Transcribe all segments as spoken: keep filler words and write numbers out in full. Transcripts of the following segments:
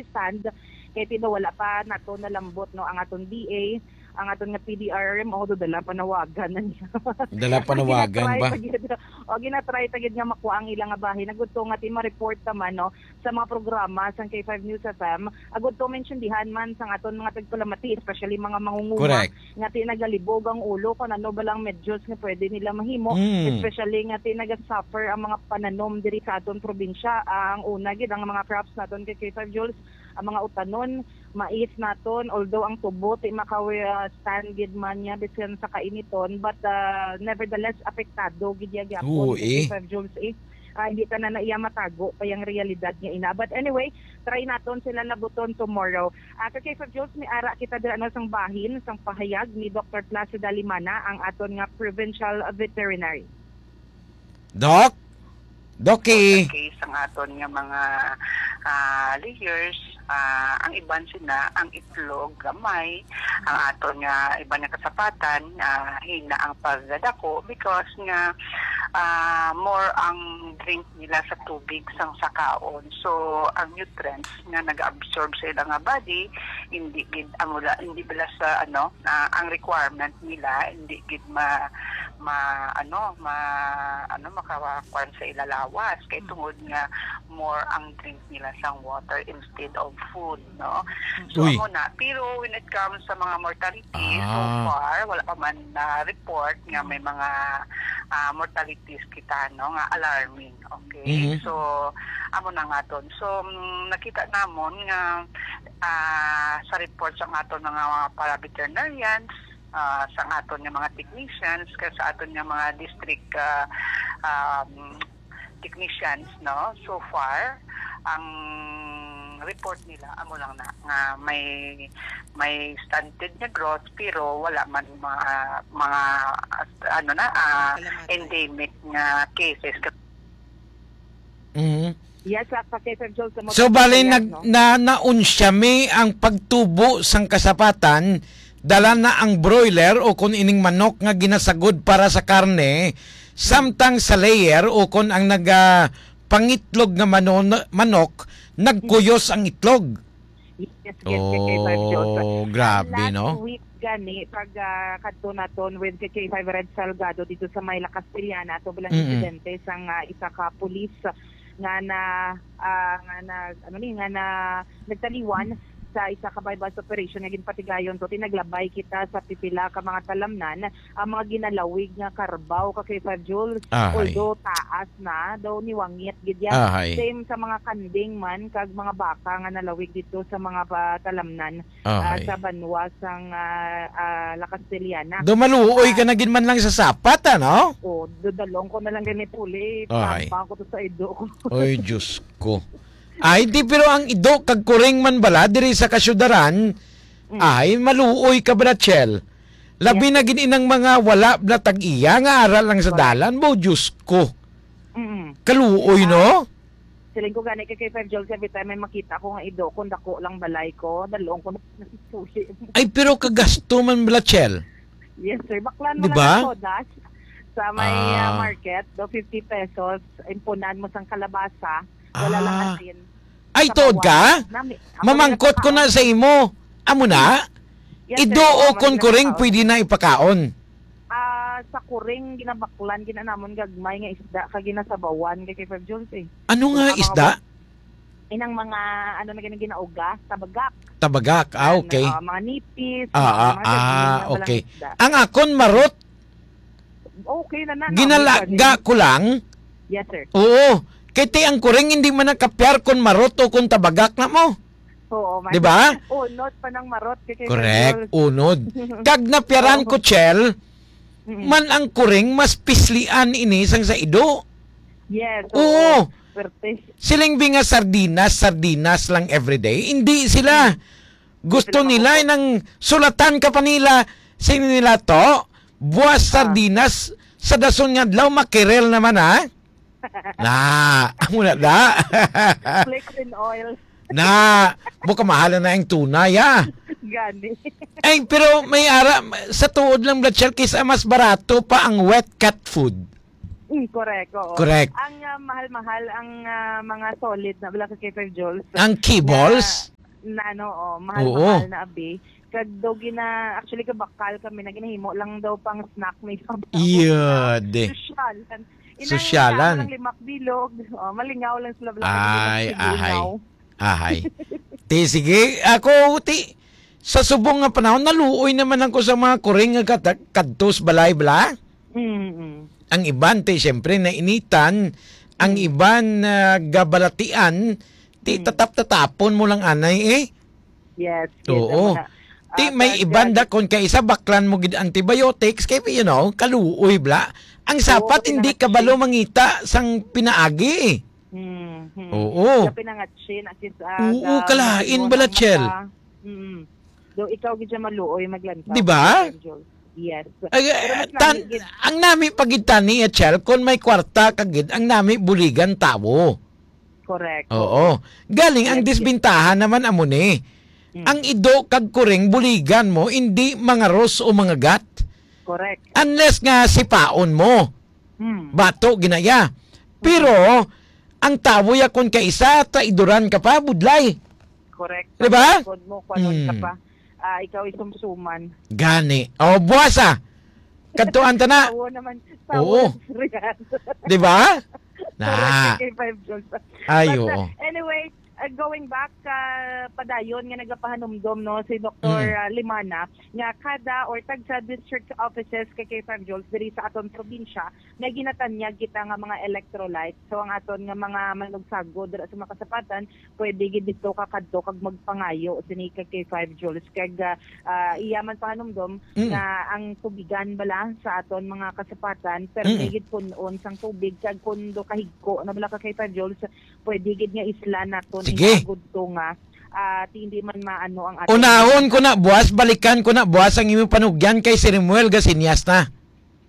stand, kay ti daw wala pa nato nalambot, no, ang aton D A, ang aton nga P D R M O, do dala panawagan na niya. Dala panawagan Ginatry ba? pa gyud, o, ginatry ta gyud nga makuha ang ilang nga bahin. Agud to nga ti ma-report naman, no, sa mga programa sang K five News F M. Agud to maintindihan man sang aton mga tagpalamati, especially mga mangunguma, Correct. nga ti nagalibog ang ulo kung ano ba lang medyos nga pwede nila mahimo, Mm. especially nga ti nagasuffer ang mga pananom diri sa aton probinsya. Ang una gid, ang mga crops naton kay K five Jules, ang mga utanon, mais naton, although ang tubo ti makawi-, ah, stand gid man niya bisan sa kainiton, but, ah, nevertheless, apektado gid ya gyapon Oo, kay eh. K five Jules, eh. Ah, hindi ta na na iya matago pa yung realidad nga ina. But anyway, try naton sila labuton tomorrow. Ah, kay K five Jules, may ara kita dira, ano, sang bahin, sang pahayag ni Doctor Placido Limana, ang aton nga provincial veterinary. Doc? Doki. Sa case sang aton nga mga, ah, layers, ah, ang iban sina, ang itlog gamay, ang aton nga iban nga kasapatan, ah, hina ang pagdako because nga, ah, more ang drink nila sa tubig sang sakaon. So, ang nutrients nga nag-absorb sa ilang nga body, hindi gid, amo la, hindi bala sa, ano, ah, ang requirement nila, hindi gid ma, ma, ano, ma, ano, makakuan sa ila lawas. Kay Mm. tungod nga more ang drink nila sang water instead of food, no? So, Uy. amo na. Pero when it comes sa mga mortality, so Ah. far, wala pa man na report nga may mga, ah, mortalities kita, no, nga alarming. Okay? Mhm. So, amo na nga ton. So, mm, nakita namon nga, ah, sa report sa aton mga, mga para-veterinarians, ah, sa aton nga mga technicians, kag sa aton nga mga district, ah, um, technicians, no? So far, ang report nila, amo lang na, nga may, may stunted nga growth, pero wala man mga, mga, ano na, ah, Salamat. endemic nga cases. Mhm. Yes, sa, sa K five Jules, sa So, bali, Motosikilya, nag-, no? na, naunsya mi ang pagtubo sang kasapatan, dala na ang broiler o kon ining manok nga ginasagod para sa karne, samtang sa layer o kon ang naga-, pangitlog nga manon-, manok, nagkuyos ang itlog. Yes, yes, yes, yes, yes. Oh, grabe, Last no? week gani, pag, ah, kadto naton with K K five Red Salgado dito sa may La Castellana, to bilang Mm-mm. insidente sang, ah, isa ka pulis nga na, ah, nga na, ano ni, nga na nagtaliwan sa isa ka buy-bust operation nga ginpatigayon to. Tinaglabay kita sa pipila ka mga talamnan ang mga ginalawig nga karbaw ka K five Jules. Ahay. Although taas na, daw niwangit gid yan. Ahay. Same sa mga kanding man, kag mga baka nga nalawig dito sa mga pa-, talamnan, ah, Ahay. sa banwa sang, ah, ah, La Castellana. Do maluoy ka Ah. na gid man lang sa sapat, ano? Oh, dudalong ko na lang gani puli. Ahay. Tampa ko to sa ido ko. Oy, Diyos ko. Ay, di, pero ang ido kag kuring man bala diri sa kasyudaran, Mm. ay, maluoy ka, Brachel. Labi Yes. na gid inang mga wala na tag-iya nga ara lang sa Correct. dalan, bo, Diyos ko. Mm. Kaluoy, Ah, no? siling ko gani kay, kay Five Jules, every time may makita ko nga ido, kung dako lang balay ko, dalong ko na puli. Ay, pero kagasto man, Brachel. Yes, sir. Baklan mo Di lang ba? ang sodas sa may, ah, Ah. market, do fifty pesos, impunan mo sang kalabasa, wala lang Ah. asin. Ay, Sa tuod bawang. ka? Nami-, ako Mamangkot lang ko na nakaon. sa imo. Amo na? Yes, sir. Ido Oo, o kon mali na kuring, tao. Pwede na ipakaon? Ah, sa kuring, ginabaklan, ginanamon gagmay nga isda, ka ginasabawan, kay, kay Five Jules, eh. Ano nga Ang mga isda? wa-, inang mga, ano na gani, ginauga, tabagak. Tabagak, ah, Yan, okay. ah, mga nipis, Ah, mga, ah, mga ganyan, ah, mga okay. isda. Ang akon, marot. Okay na na, no? Ginalaga May ko lang. Yes, sir. Oo. Kay ti ang kuring hindi man nakapyar kon marot o kon tabagak na mo. Oo, man. Di ba? Unod pa ng marot, kay, kay Correct. Five Jules. Unod. Kag napyaran Oo. ko, Chel, Mm. man ang kuring mas pislian ini sang sa ido. Yes, Oo. oo. Swerte. Siling bi nga sardinas, sardinas lang everyday. Hindi sila. Mm. Gusto Sila nila maupod. nang sulatan ka pa nila, sino nila to? Buwas Ah. sardinas sa dason nga adlaw, makirel naman, ha? Na, amo na da. Flakes and oil. Na, buka mahala na ang tunay, ah. Gani. Ay, pero may ara, sa tuod lang, Bloodshell, kaysa mas barato pa ang wet cat food. Mm, correct, oo. Correct. Ang, ah, mahal-mahal ang, ah, mga solid na bala ka K five joules. Ang kibbles? Na, na ano, oh, mahal-mahal Oo. na abi. Kag daw gina-, actually, kabakal kami na ginahimo lang daw pang snack may sabaw. Iya, de. Sosyalan. Inang Sosyalan. Lang limak bilog. Oh, malingaw lang sila bala ka Ay, gina-, ahay. Lingaw. Ahay. Ti, sige, ako, ti, sa subong nga panahon, naluoy naman ako sa mga kuring nga kata-, kadtos balay, bala? Mm-mm. Ang iban, ti, siyempre, nainitan. Ang Mm. iban, ah, gabalatian, ti, Mm. tatap-tatapon mo lang, anay, eh. Yes, yes, Oo. ang mga, Ti, ah, may kag, iban ah, da, kon kaisa, baklan mo gid antibiotics, kay, you know, kaluoy, bala. Ang Oo, sapat, hindi kapinangatsi. kabalo mangita sang pinaagi, eh. Hmm, hmm. Oo. Sa pinangatsin, at least, ah, Oo, sa kalain mga bala, Chel. mata. Mm. Do ikaw gid siya maluoy maglantaw. Di ba? Yes. Ay, Pero eh, mas tan-, lami gid. ang nami pa gid tani, eh, Chel, kung may kwarta ka gid, ang nami buligan tawo. Correct. Oo. Galing ang Yes, yes. disbintahan naman amo ni. Mm. Ang ido kag kuring buligan mo, hindi mangaros o mangagat. Correct. Unless nga sipaon mo. Hmm. Bato ginaya. Pero, ang tawo ya kon kaisa, traidoran ka pa, budlay. Correct. Di ba? Kod mo, kwanon ka Hmm. pa. Ah, ikaw isumsuman. Gani. O, buwasa. Kadtuan ta na. Tawo naman. Tawo Oo. naman yan. Di ba? Na. Correct, K five Jones. Ay, But, oo. uh, anyway, uh, going back, uh, padayon nga nagapahanumdom, no, si Doktor, Mm. uh, Limana, nga kada or tagsa district offices kay K five Jones diri sa aton probinsya, may ginatanyag kita nga mga electrolyte. So, ang aton nga mga manugsagod dira sa mga kasapatan, pwede gid dito ka kadto kag magpangayo sini kay K five Jones. Kag, ah, ah, iya man pahanumdom Mm. nga ang tubigan bala sa aton mga kasapatan, pero Mm. may gid pun-on sang tubig, kag kun do kahigko na bala ka K five Jones, pwede gid nga isla naton Sige. Inagod to nga, ah, ti hindi man maano ang aton Unahon ko na, buwas, balikan ko na, buwas ang imong panugyan kay si Remuel Gasinyas na.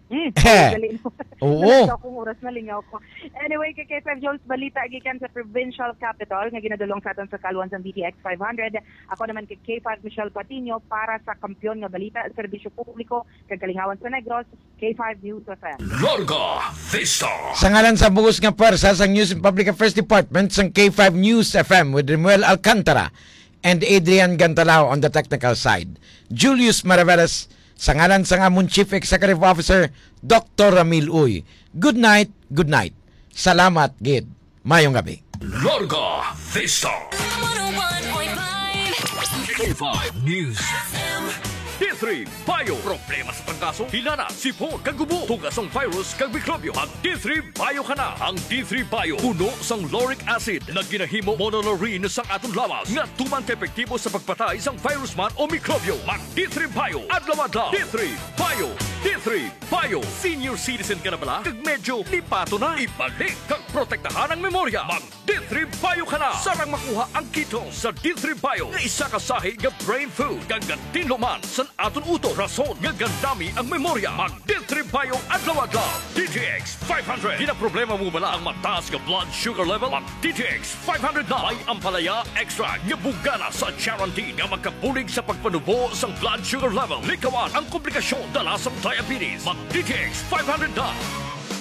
Hmm, Eh. dali mo. Oo. Nalingaw kong oras, nalingaw ko. Anyway, kay K five Jones, balita gikan sa provincial capital nga ginadulong sa aton sa kaluan sang D T X five hundred. Ako naman kay K five Michelle Patiño para sa Kampiyon nga Balita, Serbisyo Publiko, kag Kalingawan sa Negros, K five News F M. Larga Vista. Sa ngalan sa bug-os nga pwersa sang News and Public Affairs Department sang K five News F M with Remuel Alcantara and Adrian Gantalao on the technical side, Julius Maraveles, sa ngalan sang amon Chief Executive Officer, Doktor Ramil Uy. Good night, good night. Salamat gid. Mayong gabi. Larga Vista. One oh one point five. K five News. F M. D three Bio. Problema sa trangkaso, hilana, sipon, kag ubo. Tuga sang virus kag mikrobyo. Mag D three Bio ka na. Ang D three Bio puno sang lauric acid nga ginahimo monolaurin sang aton lawas nga tuman ka epektibo sa pagpatay sang virus man o mikrobyo. Mag D three Bio adlaw-adlaw. D three Bio. D three Bio. Senior citizen ka na bala? Kag medyo lipato na? Ibalik kag protektahan ang memorya. Mag D three Bio ka na. Sarang makuha ang ketone sa D three Bio nga isa ka sahi nga brain food kag gatinlo man sa aton utok, rason nga gandami ang memorya. Mag D three Bio adlaw-adlaw. D T X five hundred. Ginaproblema mo bala ang mataas nga blood sugar level? Mag D T X five hundred na. May ampalaya extract nga bugana sa charantin nga makabulig sa pagpanubo sang blood sugar level. Likawan ang komplikasyon dala sang diabetes. Mag D T X five hundred na.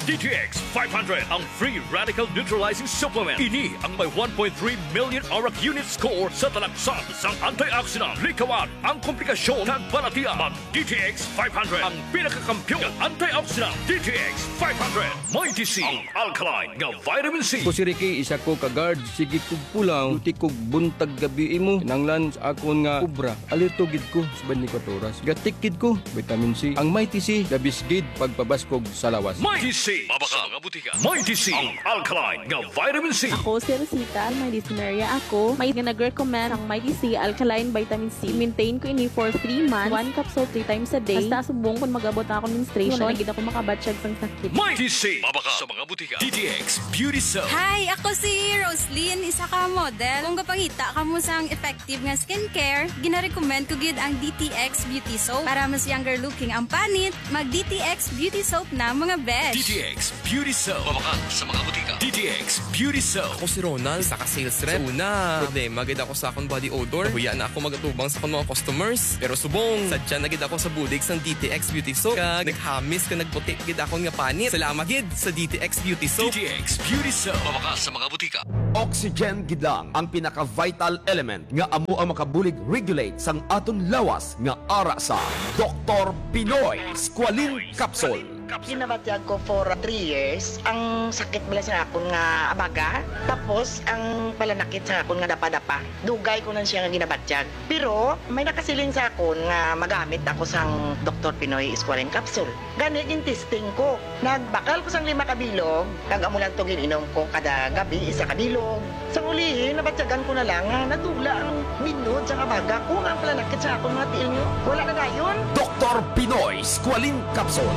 D T X five hundred, ang free radical neutralizing supplement. Ini ang may one point three million ORAC unit score sa talaksan sang antioxidant. Likawan ang komplikasyon kag balatian. Mag D T X five hundred, ang pinakakampiyon nga antioxidant. D T X five hundred. Mighty C, ang alkaline nga vitamin C. Ako si Ricky, isa ko ka guard. Sige kog pulaw, duty kog buntag gabi imo. Kinahanglan sa akon nga obra. Alerto gid ko sa twenty-four oras. Gatik gid ko, vitamin C. Ang Mighty C, the best gid pagpabaskog sa lawas. Mighty C. Mabakal nga butika. Mighty C, ang alkaline nga vitamin C. Ako si Rosita, may dysmenorrhea ako. May nag-recommend ang Mighty C alkaline vitamin C. Maintain ko ini for three months. One capsule three times a day. Basta subong kung mag-abot na akong menstruation, wala na gid ako makabatyag sang sakit. Mighty C, mabakal sa mga butika. D T X Beauty Soap. Hi, ako si Roslyn, isa ka model. Kung gapangita kamo sang effective nga skincare, ginarecommend ko gid ang D T X Beauty Soap. Para mas younger looking ang panit, mag D T X Beauty Soap na, mga besh. D T X Beauty Soap. Mabakal sa mga butika. D T X Beauty Soap. Ako si Ronald, isa ka sales rep. Sa una, problema gid ako sa akong body odor. Nahuya na ako magatubang sa akong mga customers. Pero subong, sadya na gid ako sa bulig sang D T X Beauty Soap. Kag naghamis ka nagputi gid akon nga panit. Salamat gid sa D T X Beauty Soap. D T X Beauty Soap. Mabakal sa mga butika. Oxygen gid lang ang pinaka-vital element nga amo ang makabulig regulate sang aton lawas nga ara sa Doktor Pinoy Squalene Capsule. Ginabatyag ko for three years ang sakit bala sa akon nga abaga, tapos ang palanakit sa akon nga dapa-dapa. Dugay ko lang siya nga ginabatyag. Pero may nakasiling sa akon nga magamit ako sang Doktor Pinoy Squalene Capsule. Gani, gin-testing ko. Nagbakal ko sang lima ka bilog, kag amo lang to gin-inom ko kada gabi, isa ka bilog. Sa ulihi, nabatyagan ko na lang nga nadula ang binod sa kabaga ko, nga ang palanakit sa akon mga tiil niyo, wala na dayon. Doktor Pinoy Squalene Capsule.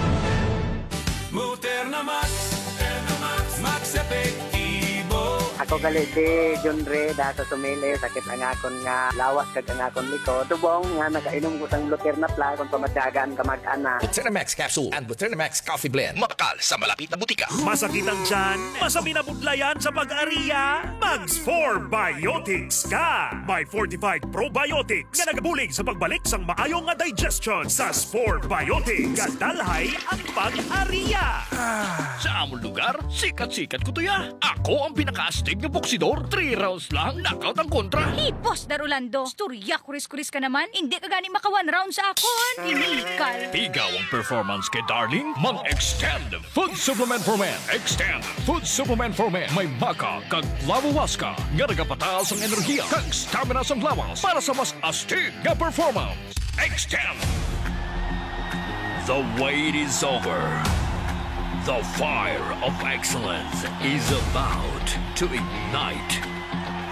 Moterna Max, Moterna Max, Max Epektibo. Ako gali si John Ray, da sa Sumili, sakit ang akon nga lawas kag ang akon likod. Tubong nga nakainom ko sang Luterna Plus, kung pamatyagan, kamag-anak. Buterna Max Capsule and Buterna Max Coffee Blend. Mabakal sa malapit na butika. Masakit ang tiyan? Masabi na budlayan sa pag-ariya? Mag Spore Biotics ka! May fortified probiotics nga nagabulig sa pagbalik sang maayo nga digestion. Sa Spore Biotics, gadalhay ang pag-ariya. Sa amon lugar, sikat-sikat ko to ya. Ako ang pinakaastig nga boksidor. Three rounds lang, knockout ang kontra. Hipos, Dar Orlando. Istorya, kuris-kuris ka naman. Hindi ka gani maka one round sa akon. Iniikal. Pigaw ang performance kay Darling. Mag-Extend Food Supplement for Men. Extend Food Supplement for Men. May maca kag flavowaska nga nagapataas ang enerhiya kag stamina sang lawas para sa mas astig nga performance. Extend. The wait is over. The fire of excellence is about to ignite.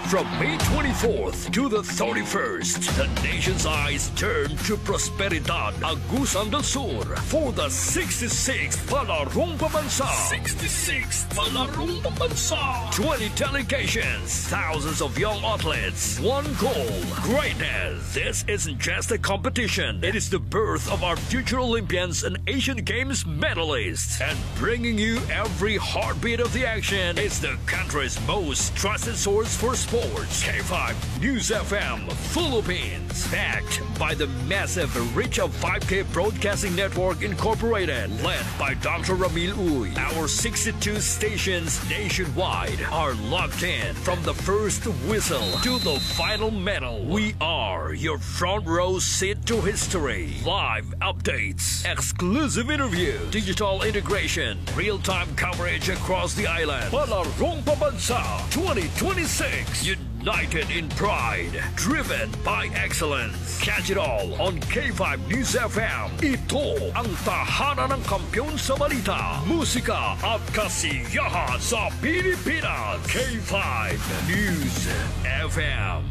From May twenty-fourth to the thirty-first, the nation's eyes turn to Prosperidad, Agusan del Sur, for the sixty-sixth Palarong Pambansa. Sixty-sixth Palarong Pambansa. Twenty delegations, thousands of young athletes, one goal, greatness. This isn't just a competition. It is the birth of our future Olympians and Asian Games medalists. And bringing you every heartbeat of the action is the country's most trusted source for sports, K five News F M Philippines. Backed by the massive reach of five K Broadcasting Network Incorporated, led by Doctor Ramil Uy, our sixty-two stations nationwide are locked in. From the first whistle to the final medal, we are your front row seat to history. Live updates, exclusive interview, digital integration, real-time coverage across the island. Palarong Pambansa twenty twenty-six, united in pride, driven by excellence. Catch it all on K five News F M. Ito ang tahanan ng kampiyon sa balita, musika at kasiyahan sa Pilipinas. K five News F M.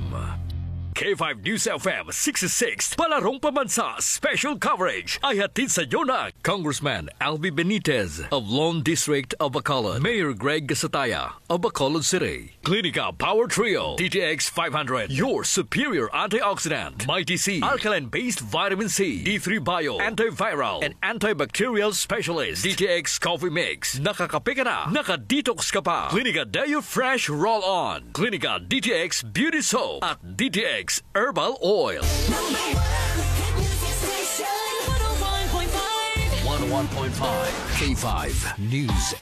K five News F M sixty-six, Palarong Pambansa Special Coverage ay hatid sa inyo ng Congressman Alvin Benitez of Lone District of Bacolod, Mayor Greg Gasataya of Bacolod City, Clinica Power Trio, D T X five hundred, your superior antioxidant, Mighty C, alkaline-based vitamin C, D three Bio, antiviral and antibacterial specialist, D T X Coffee Mix. Nakakape ka na, naka-detox ka pa. Clinica Deo Fresh Roll-On, Clinica D T X Beauty Soap, at D T X Herbal Oil. Number one hit music station, one oh one point five. One oh one point five K five News.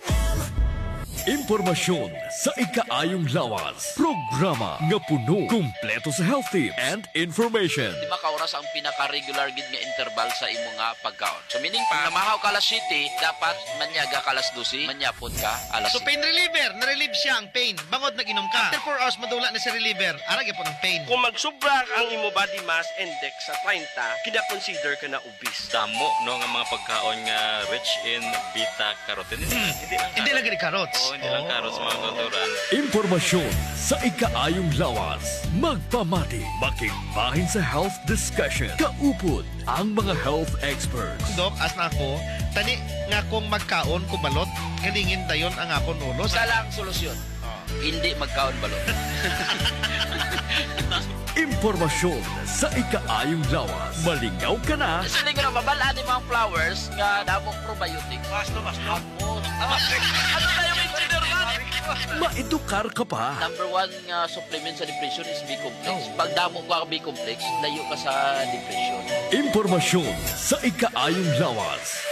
Impormasyon sa ikaayong lawas. Programa nga puno, kumpleto sa health tips and information. Lima ka oras ang pinaka-regular gid nga interval sa imo nga pagkaon. So, meaning pa, namahaw ka alas siyete, dapat manyaga ka alas dose, manyapon ka alas So, siyete. Pain reliever, na-relieve siya ang pain. Bangod nag-inom ka. After four hours, madula na si reliever. Ara gyapon ang pain. Kung magsubra ang imo body mass index sa treinta, kina-consider ka na obese. Damo, no, nga mga pagkaon nga rich in beta carotene. Hmm. Hindi lang Hindi lang carrot. Gani carrots. Oo, hindi lang Oh. carrots, mga kautoran. Impormasyon sa ikaayong lawas. Magpamati, makigbahin sa health discussion. Kaupod ang mga health experts. Doc, as na ako, tani nga kung magkaon ko balot, galingin dayon ang akon ulo. Isa lang solusyon. Oh. Hindi magkaon balot. Impormasyon sa ikaayong lawas. Malingaw ka na. Siling nga mabal-an ni mga flowers nga damong probiotic. Basto, basto. Amo. Ano na yung engineer man? Maedukar ka pa. Number one nga supplement sa depression is B-complex. Oh. Pag damo ka B-complex, layo ka sa depression. Impormasyon sa ikaayong lawas.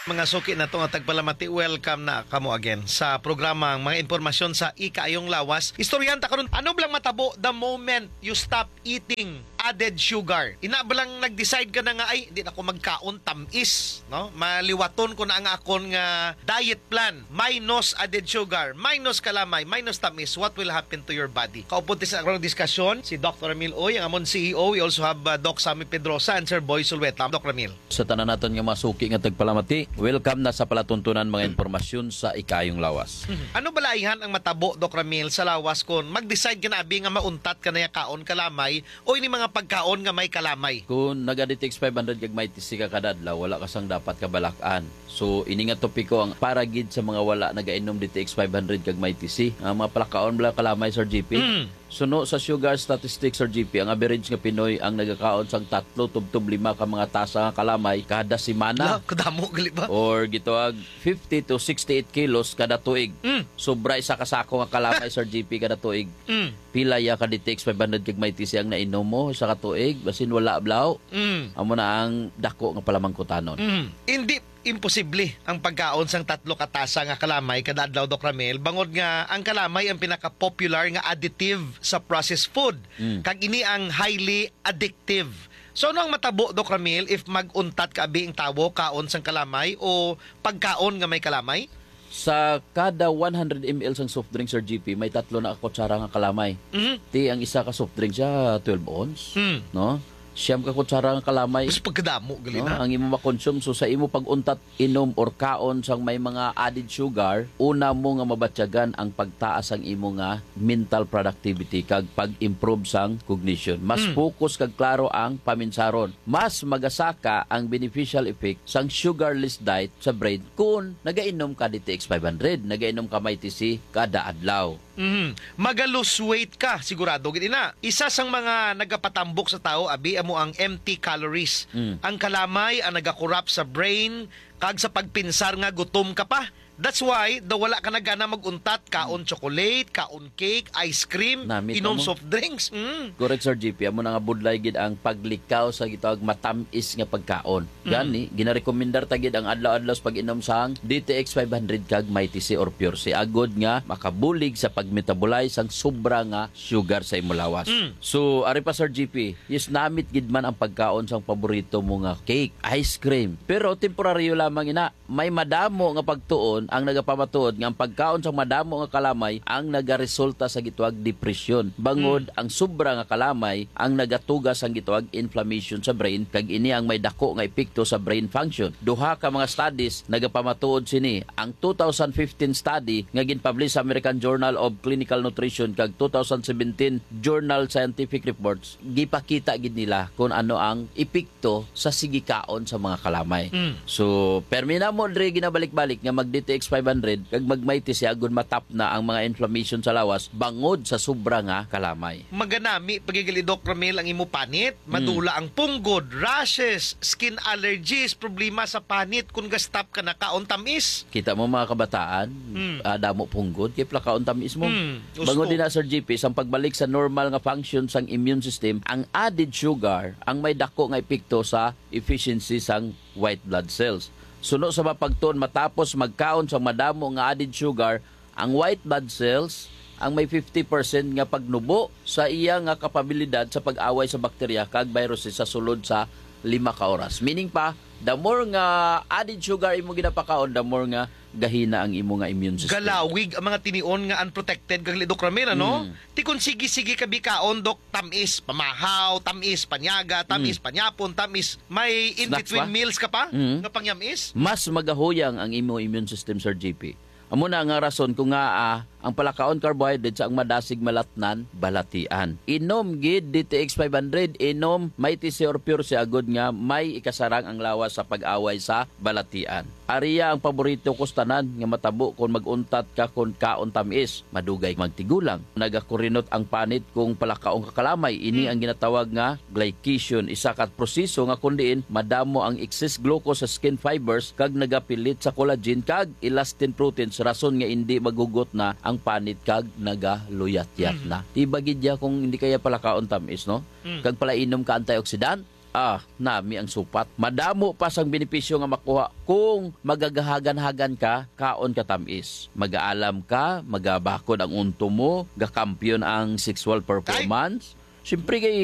Mga suki nato nga tagpalamati, welcome na kamo again sa programang Mga Impormasyon sa Ikaayong Lawas. Istoryahan ta karon, ano bala ang matabo the moment you stop eating added sugar? Ina ba lang nag-decide ka na nga, "Ay, di na ko magkaon tam-is, no? Maliwaton ko na ang akon nga diet plan. Minus added sugar, minus kalamay, minus tam-is. What will happen to your body?" Kaupod sa akong diskusyon, si Doctor Emil Uy, ang amon C E O. We also have, uh, Doc Sammy Pedrosa and Sir Boy Sulweta. Doc Emil. Sa tanan naton nga mga suki nga tagpalamati, welcome na sa palatuntunan mga impormasyon sa Ikaayong Lawas. Ano bala ayhan ang matabo, Doc Ramil, sa lawas kon mag-decide ka na abi nga mauntat ka na ya kaon kalamay o ini mga pagkaon nga may kalamay? Kung naga-D T X five hundred kag may tisi ka kada adlaw, wala ka sang dapat kabalak-an. So, ini nga topiko ang para gid sa mga wala nagainom D T X five hundred kag may tisi. Ang mga palakaon bala kalamay, Sir G P. Mm. Suno sa sugar statistics, Sir G P, ang average nga Pinoy ang nagakaon sang tatlo tubtob lima ka mga tasa nga kalamay kada semana. La, kadamo gali ba? Or gitawag fifty to sixty-eight kilos kada tuig. Mm. Sobra isa ka sako nga kalamay, Sir G P, kada tuig. Mm. Pila ya ka D T X five hundred kag may tisi ang nainom mo sa katuig? Basin wala, blaw. Mm. Amo na ang dako nga palamangkutanon. Mm. Hindi imposible ang pagkaon sang tatlo ka tasa nga kalamay kada adlaw, Doc Ramil, bangod nga ang kalamay ang pinaka-popular nga additive sa processed food, Mm. kag ini ang highly addictive. So, ano ang matabo, Doc Ramil, if mag-untat ka abi ang tawo kaon sang kalamay o pagkaon nga may kalamay? Sa kada one hundred M L sang soft drink, Sir G P, may tatlo na ka kutsara nga kalamay. Mhm. Ti ang isa ka soft drink siya, twelve ounce, Mm. no? Siyam ka kutsara nga kalamay. Mas pagkadamo gali No, na. ang imo makonsume. So, sa imo pag-untat, inom or kaon sang may mga added sugar, una mo nga mabatyagan ang pagtaas sang imo nga mental productivity kag pag-improve sang cognition. Mas Mm. focus kag klaro ang paminsaron. Mas magasaka ang beneficial effect sang sugarless diet sa brain kun nagainom ka D T X five hundred, nagainom ka may tisi kada adlaw. Mhm. Maga-lose weight ka, sigurado gid ina. Isa sang mga nagapatambok sa tawo abi amo ang empty calories. Mm. Ang kalamay ang nagakurap sa brain kag sa pagpinsar nga gutom ka pa. That's why daw wala ka na gana mag-untat, kaon chocolate, kaon cake, ice cream, Nami inom kamo. soft drinks. Mm. Correct, Sir G P. Amo na nga budlay gid ang paglikaw sa gitawag matam-is nga pagkaon. Mm. Gani, ginarekomendar ta gid ang adlaw-adlaw sa pag-inom sang D T X five hundred kag Mighty C or Pure C, agod nga makabulig sa pag-metabolize sang sobra nga sugar sa imo lawas. Mm. So, ari pa, Sir G P, yes, namit gid man ang pagkaon sang paborito mo nga cake, ice cream. Pero temporaryo lamang ina. May madamo nga pagtuon ang nagapamatuod nga ang pagkaon sang madamo nga kalamay ang nagaresulta sa gitawag depresyon, bangod Mm. ang sobra nga kalamay ang nagatuga sang gitawag inflammation sa brain, kag ini ang may dako nga epekto sa brain function. Duha ka mga studies nagapamatuod sini, ang two thousand fifteen study nga ginpublish sa American Journal of Clinical Nutrition kag two thousand seventeen Journal Scientific Reports. Gipakita gid nila kung ano ang epekto sa sige kaon sa mga kalamay. Mm. So, permi na mo diri ginabalik-balik nga mag D T X five hundred kag mag Mighty C agod matap na ang mga inflammation sa lawas bangod sa sobra nga kalamay. Maganami pa gid gali, Doc Ramil, ang imo panit, Mm. madula ang punggod, rashes, skin allergies, problema sa panit kung gastap ka na kaon tamis. Kita mo mga kabataan, Mm. ah, damo punggod, kay plakaon tamis mo. Mm. Gusto. Bangod din na, Sir G P, sang pagbalik sa normal nga function sang immune system, ang added sugar ang may dako nga epekto sa efficiency sang white blood cells. Suno sa mapagtuon, matapos magkaon sang madamo nga added sugar, ang white blood cells ang may fifty percent nga pagnubo sa iya nga kapabilidad sa pag-away sa bakterya kag viruses sa sulod sa lima ka oras. Meaning pa, the more nga added sugar imo ginapakaon, the more nga gahina ang imo nga immune system. Galawig ang mga tinion nga unprotected kag lidok ramen, ano? Mm. Ti kon sige-sige ka bikaon, Dok, tamis, pamahaw, tamis, panyaga, tamis, Mm. panyapon, tamis. May in-between Snacks pa? meals ka pa Mm. nga pangyamis? Mas magahuyang ang imo immune system, Sir G P. Amo na nga rason kung ngaa ang palakaon carbohydrate sa ang madasig malatnan, balatian. Inom gid D T X five hundred, inom Mighty C or Pure C agod nga may ikasarang ang lawas sa pag-away sa balatian. Ariya ang paborito ko sa tanan nga matabo kon mag-untat ka kon kaon tamis, madugay magtigulang. Nagakurinot ang panit kung palakaon ka kalamay. Ini Hmm. ang ginatawag nga glycation, isa ka proseso nga kun diin madamo ang excess glucose sa skin fibers kag nagapilit sa collagen kag elastin proteins, rason nga indi maghugot na ang panit kag nagaluyat-yat Mm. na. Iba gid ya kung hindi kaya palakaon tamis, no? Mm. Kag palainom ka antioxidant, ah, nami ang supat. Madamo pa sang benepisyo nga makuha kung magagahagan-hagan ka, kaon ka tamis. Magaalam ka, magabakod ang unto mo, gakampiyon ang sexual performance. Siyempre kay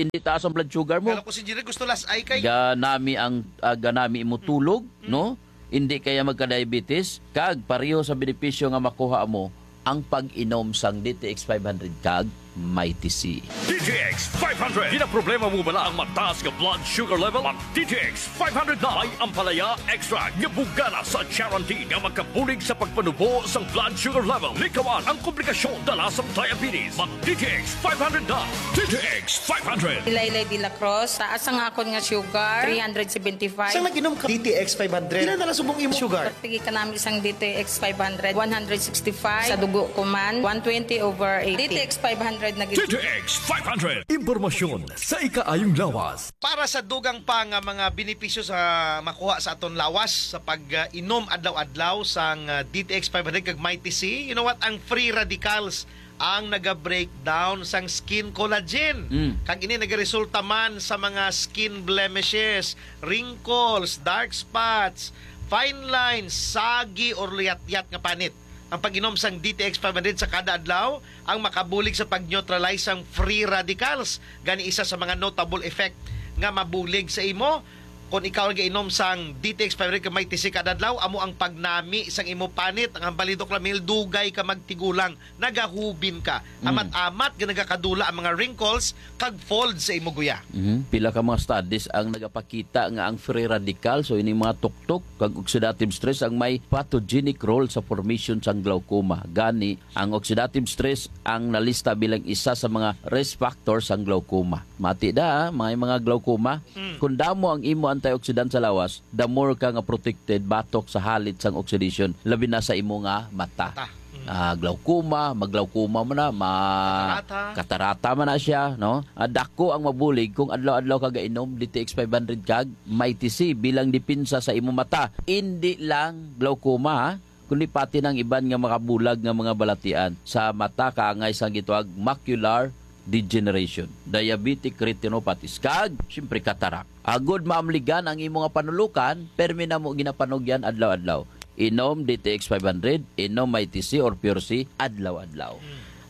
hindi taas ang blood sugar mo. Pero kung si Jerry gusto las ay kay Ganami ang, ah, ganami imo tulog, Mm. no? Hindi kaya magka-diabetes. Kag pareho sa benepisyo nga makuha mo ang pag-inom sang D T X five hundred kag Mighty C. D T X five hundred. Ginaproblema mo bala ang mataas nga blood sugar level? Mag D T X five hundred na. May ampalaya extract nga bugana sa charantin nga makabulig sa pagpanubo sang blood sugar level. Likawan ang komplikasyon dala sang diabetes. Mag D T X five hundred na. D T X five hundred. Ilaylay de la Cruz, taas ang akon nga sugar, three hundred seventy-five. Sang nag-inom ka D T X five hundred, pila na lang subong imo sugar? Pagtigi ka namin sang D T X five hundred, one hundred sixty-five. Sa dugo ko man, one twenty over eighty. D T X five hundred na gid. D T X five hundred. Impormasyon sa ikaayong lawas. Para sa dugang pa nga mga benepisyo sa makuha sa aton lawas sa pag-inom adlaw-adlaw sang, ah, D T X five hundred kag Mighty C, you know what? Ang free radicals ang naga-breakdown sang skin collagen. Mm. Kag ini nagaresulta man sa mga skin blemishes, wrinkles, dark spots, fine lines, sagi, or luyat-yat nga panit. Ang pag-inom sang D T X five hundred sa kada adlaw ang makabulig sa pag-neutralize sang free radicals. Gani, isa sa mga notable effect nga mabulig sa imo kon ikaw nagainom sang D T X five hundred ka Mighty C kada adlaw, amo ang pagnami sang imo panit. Ang hambalidok, Ramil, dugay ka magtigulang, nagahubin ka. Mm. Amat-amat nga nagakadula ang mga wrinkles kag fold sa imo guya. Mhm. Pila ka mga studies ang nagapakita nga ang free radical, so ining mga tuktok kag oxidative stress ang may pathogenic role sa formation sang glaucoma. Gani, ang oxidative stress ang nalista bilang isa sa mga risk factor sang glaucoma. Mati da, may mga glaucoma. Mm. Kung damo ang imo antioxidant sa lawas, the more ka nga protected batok sa halit sang oxidation, labi na sa imo nga mata. Mata. Mm. Ah, glaucoma, maglaucoma mo na, ma Katarata. Katarata man na siya, no? Ah, dako ang mabulig kung adlaw-adlaw ka gainom D T X five hundred kag Mighty C bilang depensa sa imo mata. Indi lang glaucoma, ha? Kundi pati ng iban nga makabulag nga mga balatian sa mata, kaangay sang gitawag macular degeneration, diabetic retinopathies, kag, siyempre, cataract. Agod maamligan ang imo nga panulukan, permi na mo ginapanugyan adlaw-adlaw. Inom D T X five hundred, inom Mighty C or Pure C adlaw-adlaw.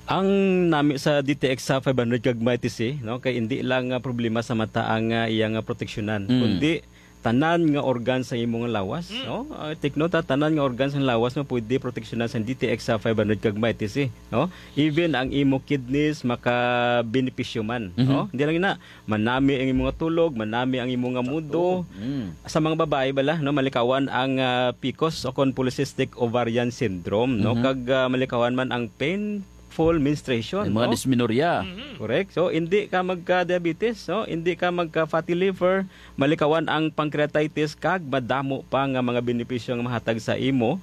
Ang nami sa D T X sa five hundred kag Mighty C, no, kay hindi lang nga problema sa mata ang, ah, iya nga proteksyonan, Mm. kundi tanan nga organ sa imo nga lawas, Mm. no? Ah, take note, ha, tanan nga organ sa lawas mo pwede proteksyonan sa D T X sa five hundred kag Mighty C, no? Even ang imo kidneys makabenepisyo man, Mhm. no? Hindi lang na, manami ang imo nga tulog, manami ang imo nga mudo. Mm. Sa mga babae bala, no, malikawan ang, ah, P C O S o kon polycystic ovarian syndrome, no? Mhm. Kag, ah, malikawan man ang painful menstruation, Yung mga no? dysmenorrhea. Mhm. Correct. So, hindi ka magka-diabetes, no? Hindi ka magka-fatty liver, malikawan ang pancreatitis, kag madamo pa nga mga benepisyo nga mahatag sa imo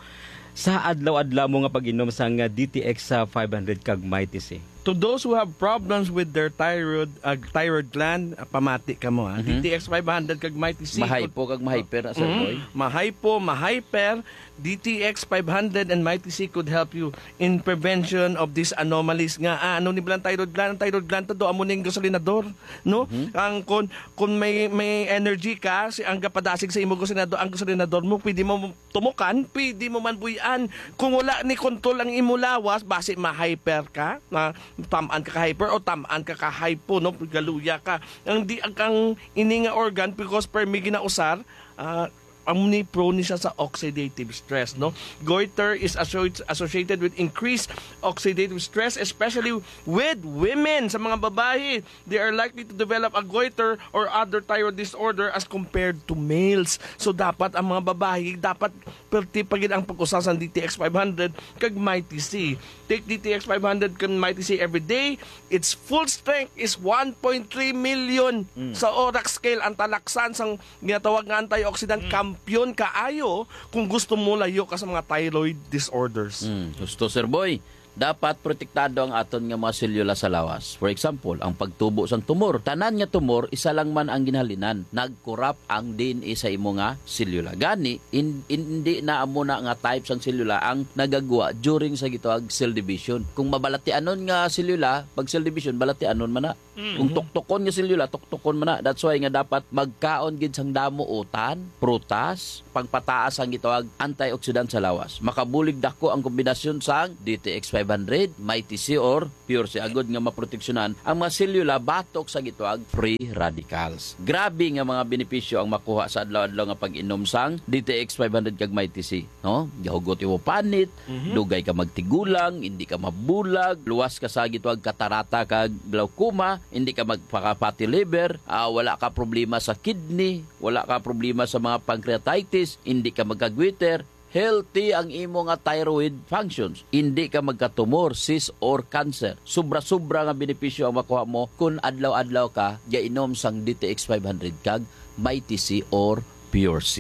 sa adlaw-adlaw mo nga pag-inom sang D T X sa five hundred kag Mighty C. To those who have problems with their thyroid, uh, thyroid gland, uh, pamati ka mo, ha? Mhm. D T X five hundred kag Mighty C. Mahypo kag mahyper na, Sir Mm. Boy. Mahypo, mahyper, D T X five hundred and Mighty C could help you in prevention of these anomalies nga, ah, ano ni bilang thyroid gland? Ang thyroid gland to do, amo ning gasolinador, no? Mhm. Ang kun, kun may, may energy ka, si, ang gapadasig sa imo gasolinador, ang gasolinador mo, pwede mo tumukan, pwede mo man buy-an. Kung wala ni control ang imo lawas, basi ma-hyper ka, na tamaan ka ka-hyper o tamaan ka ka-hypo, no? Galuya ka. Ang di, ang, ang ini nga organ, because per mi ginausar, ah, Amo ni, prone ni siya sa oxidative stress, no? Goiter is associ-, associated with increased oxidative stress, especially with women. Sa mga babayi, they are likely to develop a goiter or other thyroid disorder as compared to males. So, dapat ang mga babayi, dapat perti pa gid ang pag-usa sang D T X five hundred kag Mighty C. Take D T X five hundred kag Mighty C every day. Its full strength is one point three million Mm. sa ORAC scale. Ang talaksan sang ginatawag nga antioxidant, Mm. kampiyon kaayo kung gusto mo layo ka sa mga thyroid disorders. Mm, gusto, Sir Boy. Dapat protektado ang aton nga mga selula sa lawas. For example, ang pagtubo sang tumor. Tanan nga tumor, isa lang man ang ginhalinan. Nagkurap ang D N A sa imo nga selula. Gani, in-, in-, hindi na amo na nga type sang selula ang nagagwa during sa gitawag cell division. Kung mabalatianon nga selula, pag cell division, balatianon man na. Mhm. Kung tuktokon nga selula, tuktokon man na. That's why nga dapat magkaon gid sang damo utan, prutas, pagpataas ang gitawag antioxidant sa lawas. Makabulig dako ang kombinasyon sang D T X five hundred, Mighty C or Pure C agud nga maproteksyonan ang mga selula batok sa gitawag free radicals. Grabe nga mga benepisyo ang makuha sa adlaw-adlaw nga pag-inom sang D T X five hundred kag Mighty C. No? Gahugot imo panit, Mhm. dugay ka magtigulang, hindi ka mabulag, luwas ka sa gitawag katarata kag glaucoma, hindi ka magpaka-fatty liver, ah, wala ka problema sa kidney, wala ka problema sa mga pancreatitis, hindi ka magkagwiter, healthy ang imo nga thyroid functions, hindi ka magkatumor, cyst or cancer. Sobra-sobra nga benepisyo ang makuha mo kung adlaw-adlaw ka gainom sang D T X five hundred kag Mighty C or Pure C.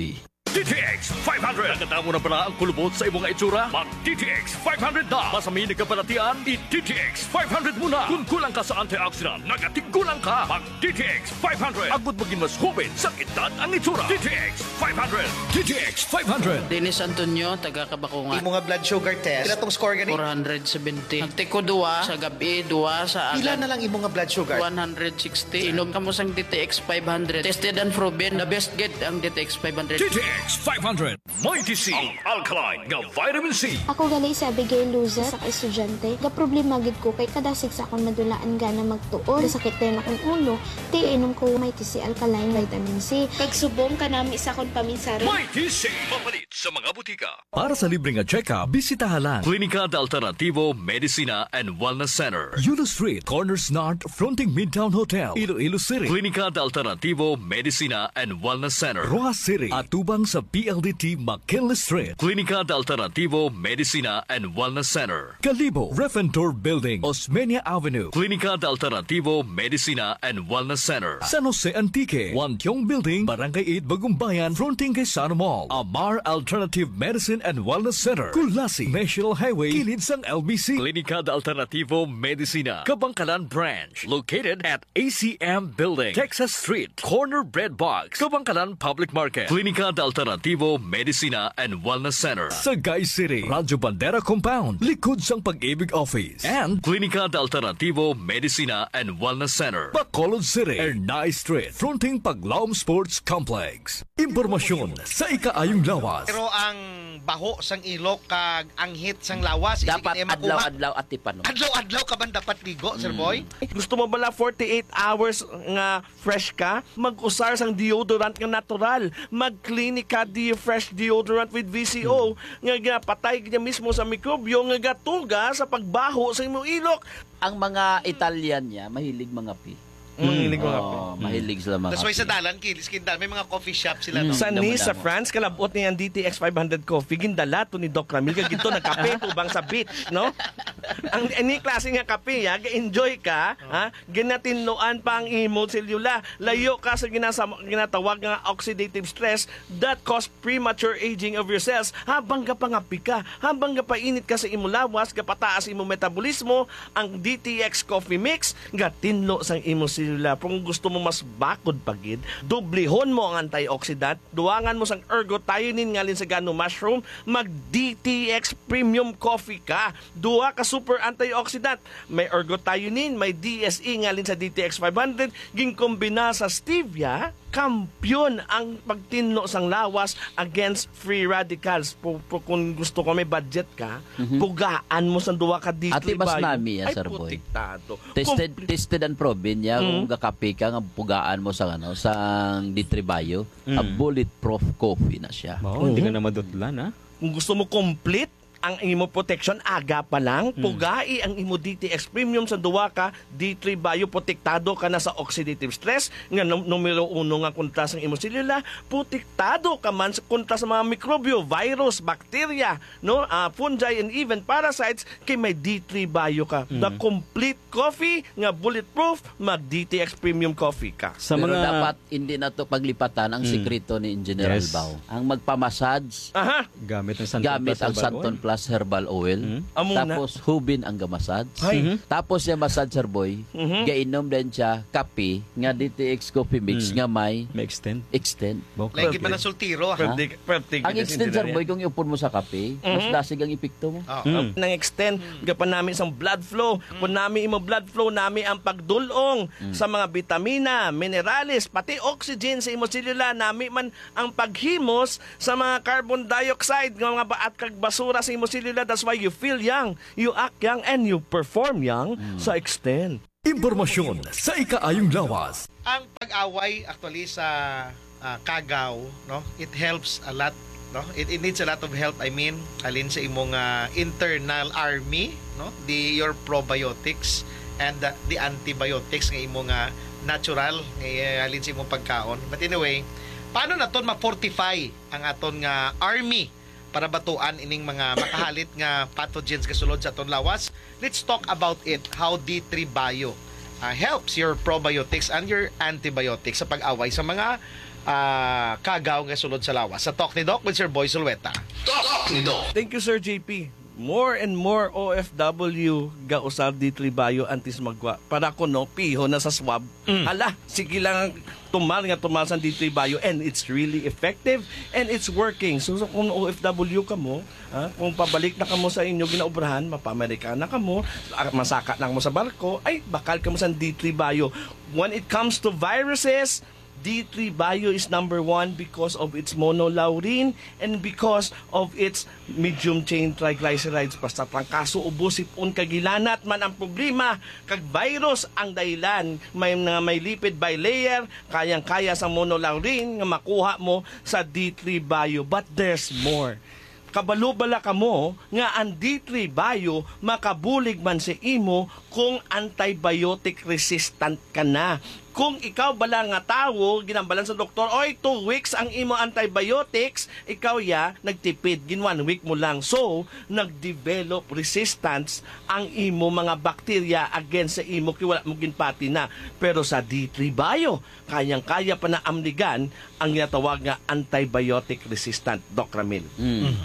D T X five hundred. Nakadamo na bala ang kulubot sa imo nga itsura? Mag D T X five hundred na. Basta may nagkabalatian, i-D T X five hundred mo na. Kung kulang ka sa antioxidant, nagatigulang ka. Mag D T X five hundred. Agud maging mas hubin sa edad ang itsura. D T X five hundred. D T X five hundred. Dennis Antonio, taga Kabakungan. Imo nga blood sugar test, pila tong score gani? Four hundred seventy. Nagtiko duwa sa gabi, duwa sa Pila agad. na lang imo nga blood sugar? One hundred sixty. Inom kamo sang D T X five hundred. Tested and proven. The best gid ang D T X five hundred. D T X five hundred. Mighty C, ang alkaline nga vitamin C. Ako gali si Abigail Luzon, sa ka estudyante. Gaproblema gid ko kay kada sigsa akon madulaan gana magtuon. Gasakit dayon akong ulo, ti inom ko Mighty C Alkaline Vitamin C. Kag subong kanami sa akon paminsaron. Mighty C, mapalit sa mga butika. Para sa libre nga check-up, bisitaha lang Klinika de Alternativo Medicina and Wellness Center, Yulo Street, Corners North, fronting Midtown Hotel, Iloilo City. Klinika de Alternativo Medicina and Wellness Center, Roxas City, atubang sa P L D T McKinley Street. Klinika de Alternativo Medicina and Wellness Center, Kalibo, Refentor Building, Osmeña Avenue. Klinika de Alternativo Medicina and Wellness Center, San Jose Antique, Wantiong Building, Barangay eight, Bagumbayan, fronting kay Sano Mall. Amar Alternative Medicine and Wellness Center, Culasi, National Highway, kilid sang L B C. Klinika de Alternativo Medicina, Kabankalan Branch, located at A C M Building, Texas Street, corner Bread Box, Kabankalan Public Market. Klinika de Alternativo Medicina and Wellness Center, Sagay City, Radyo Bandera Compound, likod sang Pag-ibig Office. And Klinika de Alternativo Medicina and Wellness Center, Bacolod City, Ernai Street, fronting Paglaom Sports Complex. Impormasyon sa ikaayong lawas. Pero ang baho sang ilok kag anghit sang lawas, hindi Dapat gid makuha. adlaw-adlaw atipanon. Adlaw-adlaw ka man dapat ligo, Sir Mm. Boy? Gusto mo bala forty-eight hours nga fresh ka? Mag-usar sang deodorant nga natural. Mag-Clinica De-Fresh Deodorant with V C O Hmm. nga ginapatay niya mismo sa mikrobyo nga gatuga sa pagbaho sa imong ilok. Ang mga Italian niya, mahilig mangape. Mahilig mangape. Oh, Hmm. mahilig sila mangape. That's why sa dalan, kilis, kinda, may mga coffee shop sila, Hmm. no? Sa Nice, sa Damo-damo. France, kalabot niya ang D T X five hundred coffee, gindala to ni Doc Ramil, kag ito nagkape tubang sa beach, no? Ang, any klase nga kape, ha? Ga-enjoy ka, ha? Ginatinloan pa ang imo selula. Layo ka sa ginasa-, ginatawag nga oxidative stress that cause premature aging of your cells. Habang gapangapi ka, habang gapainit ka sa imo lawas, gapataas imo metabolismo, ang D T X Coffee Mix gatinlo sang imo selula. Kung gusto mo mas bakod pa gid, dublihon mo ang antioxidant, duangan mo sang ergothioneine ngalin sa gano mushroom, mag D T X Premium Coffee ka. Duha ka super antioxidant, may ergothioneine, may D S E nga halin sa D T X five hundred, ginkombina sa stevia, kampiyon ang pagtinlo sang lawas against free radicals. Pu-, pu-, kung gusto ko may budget ka, Mhm. pugaan mo sa duwa ka D three Ati, mas bio. Nami, ah, Ay, Sir Boy. Protektado. Tested, Complete. Tested and proven niya. Mm. Kung gakape ka, nga pugaan mo sa, ano, sang D three bio, a Mm. bulletproof coffee na siya. Oo, hindi ka Mhm. na madutlan, ha? Kung gusto mo complete ang imo protection, aga pa lang, Mm. pugai ang imo D T X Premium sa duwa ka D three bio, protektado ka na sa oxidative stress nga num-, numero uno nga kontra sa imo selula, protektado ka man sa, kontra sa mga mikrobyo, virus, bacteria, no, ah, fungi, and even parasites, kay may D three bio ka. The Mm. complete coffee nga bulletproof, mag D T X Premium Coffee ka. Sa Pero mga dapat hindi nato paglipatan ang Mm. sikreto ni Engineer Yes. Albao. Ang magpamassage, Aha. Gamit ang Santon gamit Plus ang Herbal Santon Oil. Plus Herbal Oil. Mm. Amo na. Tapos hubin ang gamassage. Ay. Mhm. Tapos siya massage, Sir Boy, Mhm. gainom din siya kape nga D T X coffee mix Mm. nga may May extend. Extend. Okay. Lagi pa na sultiro, ha? Pwede, pwede Ang extend, Sir Boy, kung iupon mo sa kape, mas Mhm. dasig ang epekto mo. Oo. Mm. Nang extend, Mm. gapanami sang blood flow. Mm. Kung nami imo blood flow, nami ang pagdulong Mm. sa mga bitamina, minerales, pati oxygen sa imo selula, nami man ang paghimos sa mga carbon dioxide nga mga baat kag basura sa imo selula. That's why you feel young, you act young, and you perform young Mm. sa extend. Impormasyon sa ikaayong lawas. Ang pag-away, actually, sa, ah, kagaw, no, it helps a lot, no? It, it needs a lot of help, I mean, halin sa imong, ah, internal army, no? The, your probiotics and, ah, the antibiotics nga imong, ah, natural nga, eh, halin sa imong pagkaon. But anyway, paano naton ma-fortify ang aton nga army para batuan ining mga makahalit nga pathogens nga sulod sa aton lawas? Let's talk about it, how D three Bio, ah, helps your probiotics and your antibiotics sa pag-away sa mga, ah, kagaw nga sulod sa lawas. Sa Talk ni Doc with Sir Boy Zulueta. Talk ni Doc. Thank you, Sir J P. More and more O F W ga usar D three Bio antes magwa. Para kuno, piho na sa swab. Mm. Hala, sige lang, tumal nga tumal sang D three Bio, and it's really effective and it's working. So, so kung O F W kamo, ha, kung pabalik na kamo sa inyo ginaubrahan, mapa-Amerika na kamo, ah, masaka na kamo sa barko, ay, bakal kamo sang D three Bio. When it comes to viruses, D three Bio is number one because of its monolaurin and because of its medium chain triglycerides. Basta trangkaso, ubo, sip-on, kag hilanat man ang problema, kag virus ang dahilan, may, nga may lipid bilayer, kayang-kaya sa monolaurin nga makuha mo sa D three Bio. But there's more. Kabalo bala kamo nga ang D three Bio makabulig man sa imo kung antibiotic resistant ka na? Kung ikaw bala nga tawo, ginambalan sa doktor, "Oy, two weeks ang imo antibiotics," ikaw ya nagtipid, gin one week mo lang. So, nag-develop resistance ang imo mga bakterya against sa imo kay wala mo ginpati na. Pero sa D three Bio, kayang-kaya pa na amligan ang ginatawag nga antibiotic resistant, Doc Ramil. Mm. Mm.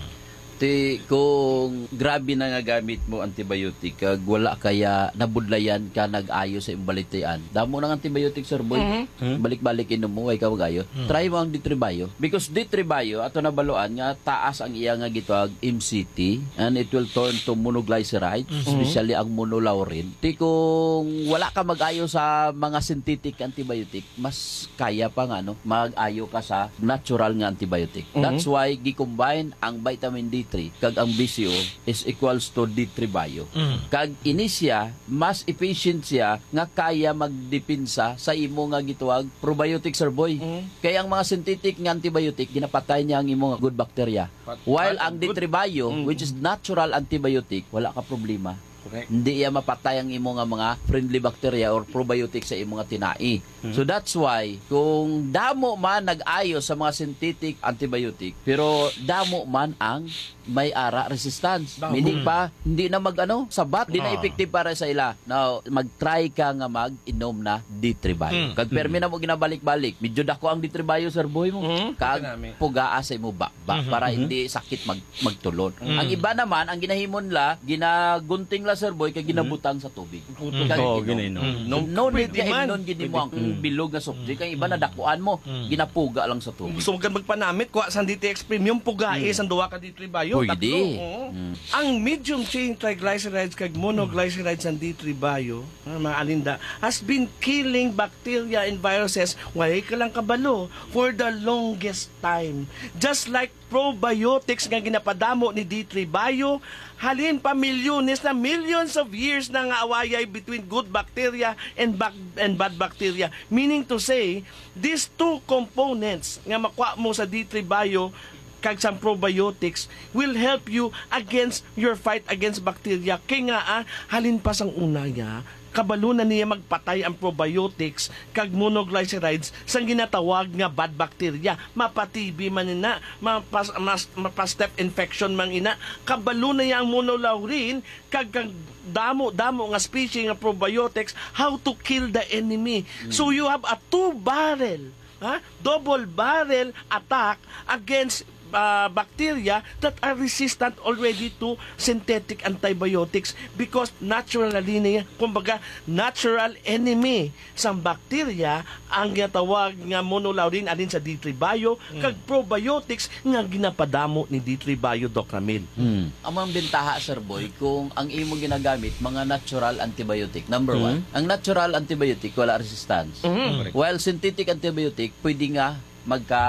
Ti, kung grabe na nga gamit mo antibiotic, kag wala kaya nabudlayan ka nag-ayo sa imong balitian, damo nang antibiotic, Sir Boy. Mhm. Hmm? Balik-balik inom mo, way ka mag-ayo. Hmm. Try mo ang D three Bio. Because D three Bio, ato nabaluan nga taas ang iya nga gitawag M C T, and it will turn to monoglyceride, Mhm. especially ang monolaurin. Ti, kung wala ka mag-ayo sa mga synthetic antibiotic, mas kaya pa nga, no, mag-ayo ka sa natural nga antibiotic. Mhm. That's why gi-combine ang vitamin D three kag ang B C O is equals to D three Bio. Mm. Kag ini siya, mas efficient siya nga kaya magdepensa sa imo nga gitawag probiotic, Sir Boy. Mhm. Kay ang mga synthetic nga antibiotic, ginapatay niya ang imo nga good bacteria. Pat-, While pat-, ang good. D three Bio, Mm. which is natural antibiotic, wala ka problema. Correct. Hindi iya mapatay ang imo nga mga friendly bacteria or probiotic sa imo nga tinai. Mhm. So that's why, kung damo man nag-ayo sa mga synthetic antibiotic, pero damo man ang may ara resistance. Damo. Meaning Mm. pa, hindi na mag-ano, sabat, di na Oo. effective para sa ila. Now, mag-try ka nga mag-inom na D three Bio. Mm. Kag permi Mm. na mo ginabalik-balik. Medyo dako ang D three Bio, Sir Boy mo. Mm. Kag Kanami. pugaa sa imo ba, ba, Mhm. para Mhm. hindi sakit mag-, magtulon. Mm. Ang iba naman, ang ginahimo nila, ginagunting Sir Boy, kay ginabutang sa tubig. Putol. Mm. Kag Oo, gini, no. Mm. No, no need Pwede na man. Imnon gid nimo ang Mm. bilog nga soft drink. Ang iba nadakuan mo, Mm. ginapuga lang sa tubig. Gusto mo ka magpanamit, kuha sang D T X Premium, pugai Mm. sang duha ka D three Bio, Pwede. tatlo. Oo. Mm. Ang medium chain triglycerides kag monoglycerides sang D three Bio, ah, mga alinda, has been killing bacteria and viruses, way ka lang kabalo, for the longest time. Just like probiotics nga ginapadamo ni D three Bio, halin pa milyones na, millions of years na nga awayay between good bacteria and bac-, and bad bacteria. Meaning to say, these two components nga makuha mo sa D three Bio kag sa probiotics will help you against your fight against bacteria. Kay nga, ah, halin pa sang una, ya, kabalo na niya magpatay ang probiotics kag monoglycerides sang ginatawag nga bad bacteria. Mapa-T B man ina, mapas-, mas-, mapa-staph infection man ina. Kabalo na niya ang monolaurin kag kang damo-damo nga species nga probiotics, how to kill the enemy. Mm. So you have a two barrel, ha? Double barrel attack against, ah, bacteria that are resistant already to synthetic antibiotics because naturally niya, kumbaga, natural enemy sang bacteria ang ginatawag nga monolaurin alin sa D three Bio Mm. kag probiotics nga ginapadamo ni D three Bio, Doc Ramil. Mm. Amo ang bentaha, Sir Boy, kung ang imo ginagamit mga natural antibiotic. Number Mm. one, ang natural antibiotic wala resistance. Mm. While synthetic antibiotic, pwede nga magka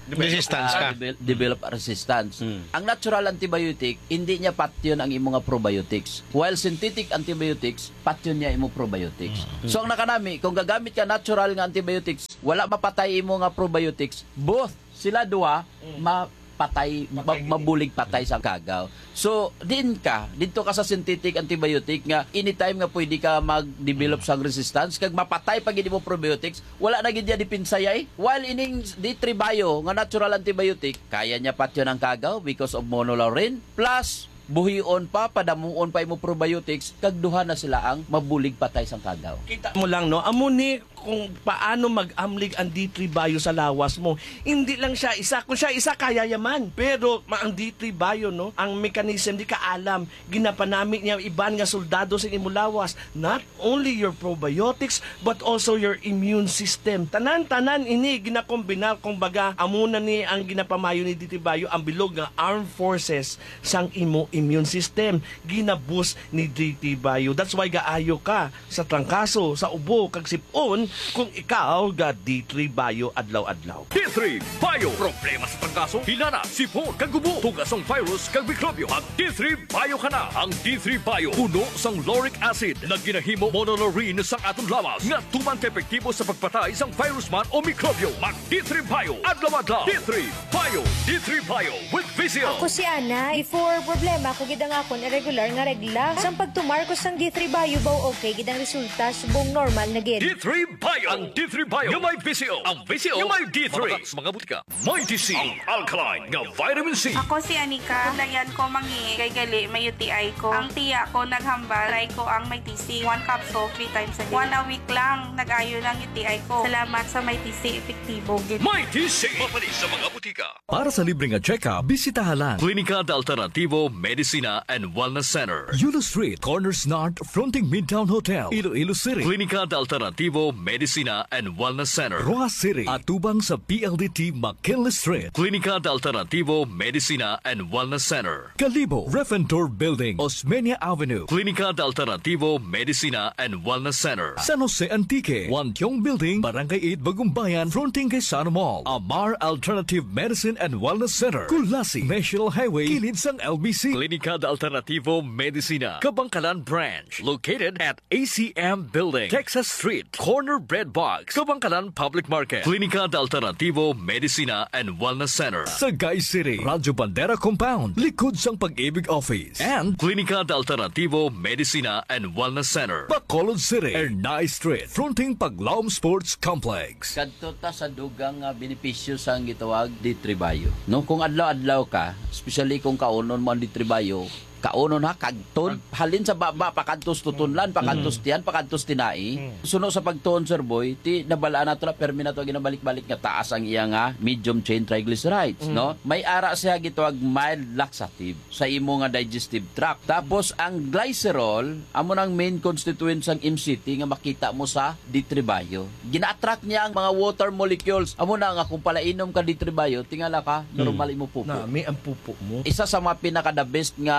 Resistance ah, ka. devel-, develop resistance. Mm. Ang natural antibiotic, hindi niya patyon ang imo nga probiotics. While synthetic antibiotics, patyon niya imo probiotics. Mm. So ang nakanami, kung gagamit ka natural nga antibiotics, wala mapatay imo nga probiotics, both sila duha Mm. mapatay, Patay ma-, gid. mabulig patay sa kagaw. So, din ka, dito ka sa synthetic antibiotic nga anytime nga pwede ka mag-develop Mm. sang resistance, kag mapatay pa gid imo probiotics, wala na gid niya depensa, yay. While ining D three Bio nga natural antibiotic, kaya niya patyon ang kagaw because of monolaurin, plus buhion pa, padamuon pa imo probiotics, kag duha na sila ang mabulig patay sang kagaw. Kita mo lang, no? Amo ni kung paano mag-amlig ang D three Bio sa lawas mo. Hindi lang siya isa. Kung siya isa, kaya yaman. Pero ma-, ang D three Bio, no? Ang mechanism, di ka alam. Ginapanami niya iban nga soldado sa imo lawas. Not only your probiotics, but also your immune system. Tanan-tanan ini ginakombinar, kung baga, amo na ni ang ginapamayo ni D three Bio, ang bilog nga armed forces sang imo immune system. Ginabus ni D three Bio. That's why gaayo ka sa trangkaso, sa ubo, kag sip-on kung ikaw ga D three Bio adlaw-adlaw. D three Bio. Problema sa trangkaso, hilana, sip-on, kag ubo, tuga sang virus, kag mikrobyo. Mag D three Bio ka na. Ang D three Bio, puno sang lauric acid, nga ginahimo monolaurin sang aton lawas, nga tuman ka epektibo sa pagpatay sang virus man o mikrobyo. Mag D three Bio, adlaw-adlaw. D three Bio, D three Bio with Visil. Ako si Ana. Before, problema ko gid ang akon irregular nga regla. Sang pagtumar ko sang D three Bio, baw okay gid ang resulta, subong normal na gid. D three Bio. Ang D three Bio nga may Visil. Ang Visil nga may D three. Mabakak sa mga butika. Mighty C, ang alkaline nga vitamin C. Ako si Anika. Kulayan ko mangi kay gali may U T I ko. Ang tiya ko naghambal, try ko ang Mighty C. One capsule, three times a day. One a week lang, nag-ayo na ang U T I ko. Salamat sa Mighty C, epektibo gid. Mighty C, mapalit sa mga butika. Para sa libre nga check-up, bisitaha lang Klinika de Alternativo Medicina and Wellness Center, Yulo Street, Corner Snart, fronting Midtown Hotel, Iloilo City. Klinika de Alternativo Medicina and Wellness Center, Roxas City, atubang sa P L D T McKinley Street. Klinika de Alternativo Medicina and Wellness Center, Kalibo, Ref and Tour Building, Osmeña Avenue. Klinika de Alternativo Medicina and Wellness Center, San Jose Antique, Wantiong Building, Barangay eight, Bagumbayan, fronting kay Sano Mall. Amar Alternative Medicine and Wellness Center, Culasi, National Highway, kilid sang L B C. Klinika de Alternativo Medicina, Kabankalan Branch, located at A C M Building, Texas Street, corner Bread Box, Kabankalan Public Market. Klinika de Alternativo Medicina and Wellness Center, Sagay City, Radyo Bandera Compound, likod sang Pag-ibig Office. And Klinika de Alternativo Medicina and Wellness Center, Bacolod City, Ernai Street, fronting Paglaom Sports Complex. Kadto ta sa dugang nga benepisyo sang gitawag D three Bio. No, kung adlaw-adlaw ka, especially kung kaunon mo ang D three Bio, Taonon ha, kagton. Halin sa baba, pakantos tutunlan, pakantos tiyan, pakantos tinai. Mm. Suno sa pagtuon, Sir Boy, ti nabalaan nato na, permi nato ginabalik-balik nga taas ang iya nga medium chain triglycerides, Mm. no? May ara siya gitawag mild laxative sa imo nga digestive tract. Tapos ang glycerol, amo nang main constituent sang M C T nga makita mo sa D three Bio. Gina-attract niya ang mga water molecules. Amo na nga kung palainom ka D three Bio, tingala ka, normal imo pupo. Nami ang pupo mo. Isa sa mga pinaka the best nga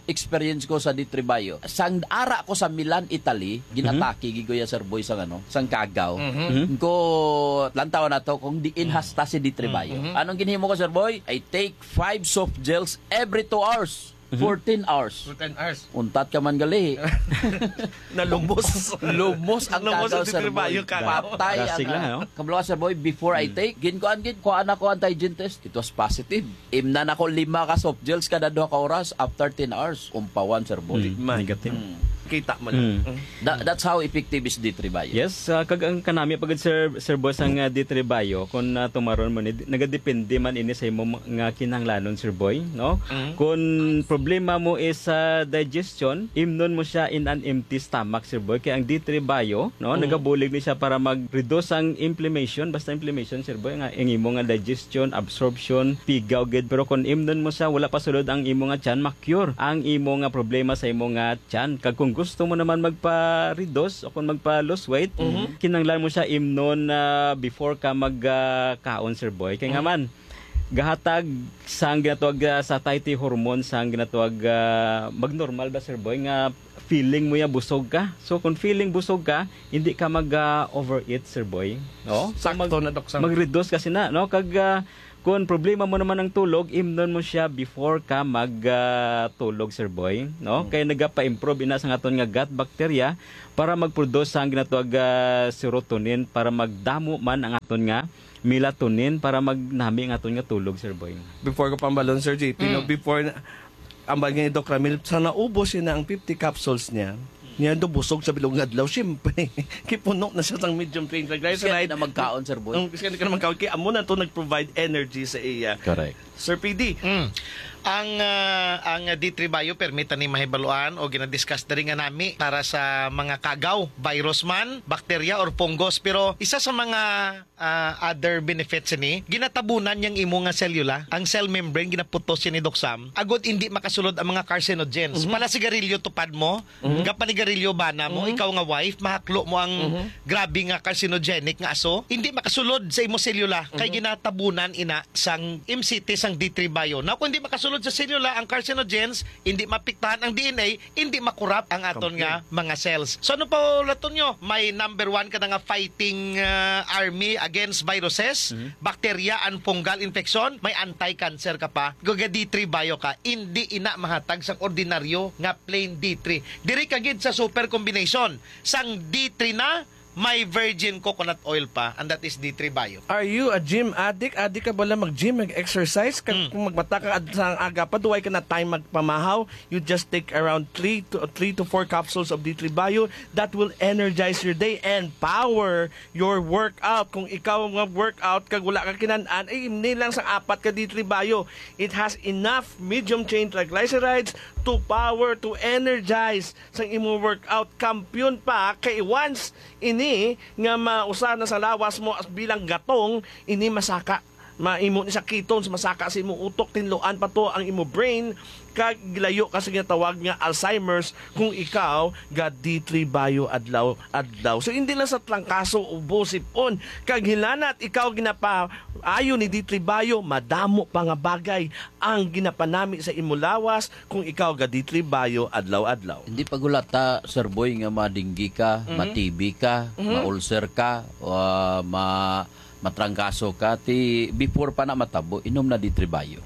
experience ko sa D three Bio. Sang ara ko sa Milan, Italy, ginatake gid ko ya, Sir Boy, sang ano, sang kagaw. Mhm. Ko lantaw na to kung diin hasta si D three Bio. Mhm. Anong ginhimo ko, Sir Boy? I take five soft gels every two hours. Mhm. Fourteen hours. Fourteen hours. Untat ka man gali. Nalumos. Lumos ang Lumos kagaw, ang Sir Boy. Patay ang, Dasig lang, ah, no? Kabalo ka, Sir Boy, before I take, ginkuan gid, kuan ako antigen test. It was positive. Imnan ako lima ka soft gels kada duha ka oras after ten hours. Umpawan, Sir Boy. Mm, negative. Mm. Kita mo lang. Mm. Mm. Tha-, that's how effective is D three Bio. Yes, ah, kag ang kanami pa gid, Sir, Sir Boss, ang, ah, D three Bio, kung, ah, tumaron mo ni, nagadepende man ini sa imo ma-, nga kinahanglanon, Sir Boy, no? Mm. Kung problema mo is sa digestion, imnon mo siya in an empty stomach, Sir Boy. Kay ang D three Bio, no, Mm. nagabulig ni siya para mag-reduce ang inflammation, basta inflammation, Sir Boy, nga ang imo nga digestion, absorption, pigaw gid. Pero kung imnon mo siya, wala pa sulod ang imo nga tiyan, ma-cure ang imo nga problema sa imo nga tiyan. Kag kung gusto mo naman magpa-reduce o kung magpa-lose weight, Mhm. kinahanglan mo siya imnon, ah, before ka mag, ah, kaon, Sir Boy. Kay nga Mhm. man, gahatag sang ginatawag, ah, satiety hormone, sang ginatawag, ah, magnormal ba, Sir Boy, nga feeling mo ya busog ka. So, kung feeling busog ka, hindi ka mag, ah, overeat, Sir Boy. No? So, Sakto mag-, na, Doc Sam. mag-reduce kasi na, no? Kag, ah, kung problema mo naman ang tulog, imnon mo siya before ka mag, ah, tulog, Sir Boy, no? Mm. Kay nagapa-improve ina sa aton nga gut bacteria para mag-produce sang ginatawag, ah, serotonin para magdamo man ang aton nga melatonin para magnami ang aton nga tulog, Sir Boy. Before ko pambalon, Sir J P, no, Mm. before na, ang bagay ni Doc Ramil, sa naubos niya na ang fifty capsules niya, niya do busog sa bilog nga adlaw, siyempre, kipuno na siya sang medium chain triglyceride. Kasi na magkaon, Sir Boy. Ang, kasi ka na magkaon, kaya amo na to nag-provide energy sa iya. Correct. Sir P D. Mm. Ang, ah, ang D three Bio, permi ta ni mahibaluan o ginadiscuss diri nga nami para sa mga kagaw, virus man, bakterya, or fungus. Pero isa sa mga, ah, other benefits ni, ginatabunan niyang imo nga selula, ang cell membrane, ginaputos siya ni Doc Sam, agod hindi makasulod ang mga carcinogens. Mhm. Pala sigarilyo tupad mo, Mhm. Gapanigarilyo bana mo, Mhm. ikaw nga wife, mahaklo mo ang Mhm. grabe nga carcinogenic nga aso, hindi makasulod sa imo selula, kay Mhm. ginatabunan ina sang M C T sang D three Bio. Now, kung hindi makasulod sa selula ang carcinogens, hindi mapiktahan ang D N A, hindi makurap ang aton Kampiyon. nga mga cells. So, ano pa, Latonyo? May number one ka na nga fighting, uh, army against viruses, Mhm. bacteria, and fungal infection, may anti-cancer ka pa. Kung ga D three Bio ka, hindi ina mahatag sang ordinaryo nga plain D three. Diri ka gid sa super combination sang D three na may virgin coconut oil pa, and that is D three Bio. Are you a gym addict? Addict ka bala mag-gym, mag-exercise? Kag Mm. kung magbata ka ad-, sa aga pa, duway ka na time magpamahaw, you just take around three to, three to four capsules of D three Bio that will energize your day and power your workout. Kung ikaw nga workout kag wala ka kinan-an, ay imni lang sang apat ka D three Bio. It has enough medium chain triglycerides to power, to energize sang imo workout. Kampiyon pa, kay once ini nga mausa na sa lawas mo as bilang gatong, ini masaka. Maimo ni sa ketones, masaka sa imo utok, tinluan pa to ang imo brain, kag gilayo ka sa ginatawag nga Alzheimer's kung ikaw ga D three Bio adlaw-adlaw. So, hindi lang sa trangkaso, ubo, sipon, kag hilanat ikaw ginapaayo ni D three Bio, madamo pa nga bagay ang ginapanami sa imo lawas kung ikaw ga D three Bio adlaw-adlaw. Hindi pa gulata, Sir Boy, nga madinggi ka, Mhm. ma-T B ka, Mhm. ma-ulcer ka, ah, ma-, matrangkaso ka, ti before pa na matabo, inom na D three Bio.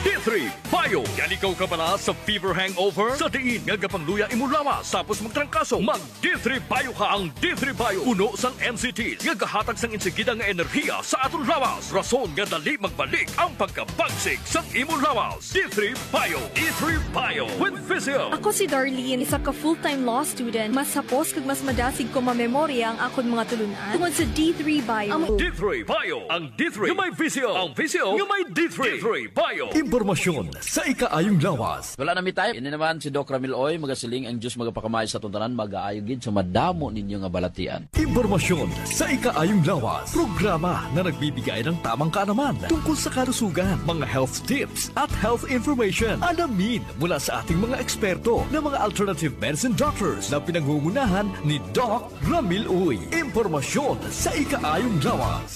D three Bio. Yaligaw ka bala sa fever hangover? Sa diin nga gapangluya imo lawas tapos magtrangkaso? Mag D three Bio ka. Ang D three Bio puno sang N C T nga gahatag sang insigida nga enerhiya sa aton lawas. Rason nga dali magbalik ang pagkabagsik sang imo lawas. D three Bio. D three Bio with Vizio. Ako si Darlene, isa ka full-time law student. Mas hapos kag mas madasig ko mamemorya ang akon mga tulunan tungod sa D three Bio. Ang D three Bio. Ang D three nga may Vizio. Ang Vizio nga may D three. D three Bio. Imporma Impormasyon sa ikaayong lawas. Wala na mi time. Ini naman si Doc Ramil Oy, magasiling ang Diyos magapakamay sa atong tanan, magaayo gid sa madamo ninyo nga balatian. Impormasyon sa ikaayong lawas. Programa na nagbibigay ng tamang kaalaman tungkol sa kalusugan, mga health tips at health information. Alamin mula sa ating mga eksperto na mga alternative medicine doctors na pinangungunahan ni Doc Ramil Uy. Impormasyon sa ikaayong lawas.